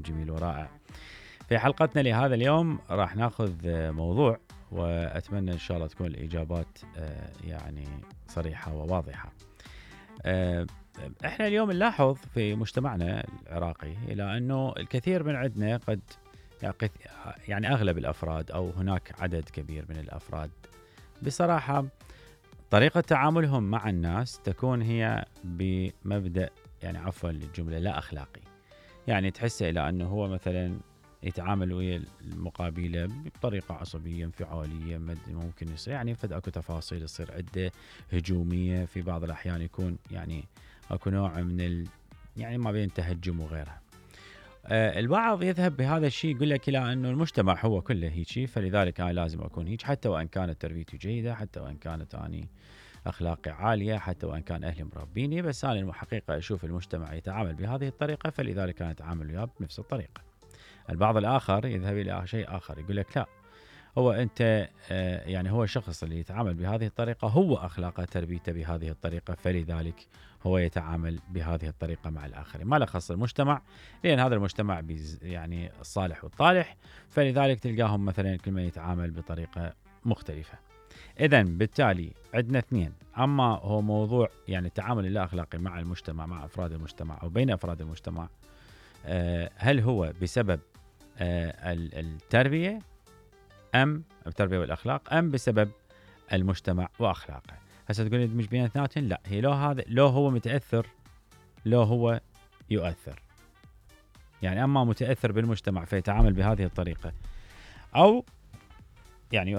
جميل ورائع. في حلقتنا لهذا اليوم راح ناخذ موضوع، وأتمنى إن شاء الله تكون الإجابات يعني صريحة وواضحة. إحنا اليوم نلاحظ في مجتمعنا العراقي إلى أنه الكثير من عندنا قد يعني أغلب الأفراد أو هناك عدد كبير من الأفراد بصراحة طريقة تعاملهم مع الناس تكون هي بمبدأ يعني عفوا للجملة لا أخلاقي. يعني تحس إلى أنه هو مثلا يتعامل ويا المقابلة بطريقة عصبية انفعالية، ممكن يصير يعني اكو تفاصيل تصير عدة هجومية، في بعض الأحيان يكون يعني اكو نوع من يعني ما بين تهجم وغيرها. البعض يذهب بهذا الشيء يقول لك لا انه المجتمع هو كله هيك، فلذلك انا لازم اكون هيك، حتى وان كانت تربيتي جيدة، حتى وان كانت اني اخلاقي عالية، حتى وان كان اهلي مربيني، بس انا الحقيقة اشوف المجتمع يتعامل بهذه الطريقة فلذلك انا اتعامل وياه بنفس الطريقة. البعض الآخر يذهب إلى شيء آخر يقول لك لا، هو أنت يعني هو الشخص اللي يتعامل بهذه الطريقة هو أخلاقه تربيته بهذه الطريقة، فلذلك هو يتعامل بهذه الطريقة مع الآخرين، ما له خص المجتمع، لأن هذا المجتمع يعني الصالح والطالح، فلذلك تلقاهم مثلا كل من يتعامل بطريقة مختلفة. إذن بالتالي عندنا اثنين، أما هو موضوع يعني التعامل اللا أخلاقي مع المجتمع، مع أفراد المجتمع أو بين أفراد المجتمع، هل هو بسبب التربية أم التربية والأخلاق، أم بسبب المجتمع وأخلاقه؟ هسه تقول مش بين اثنين، لا، هي لو هو متأثر لو هو يؤثر، يعني أما متأثر بالمجتمع فيتعامل بهذه الطريقة، أو يعني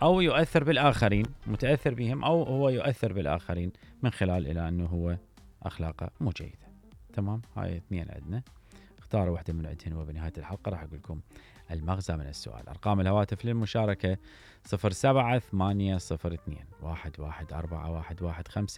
يؤثر بالآخرين، متأثر بهم، أو هو يؤثر بالآخرين من خلال إلى أنه هو أخلاقه مو جيدة. تمام، هاي اثنين عندنا، اختاروا واحدة من عندهن، وبنهاية الحلقة راح أقول لكم المغزى من السؤال. أرقام الهواتف للمشاركة 07-802-114-115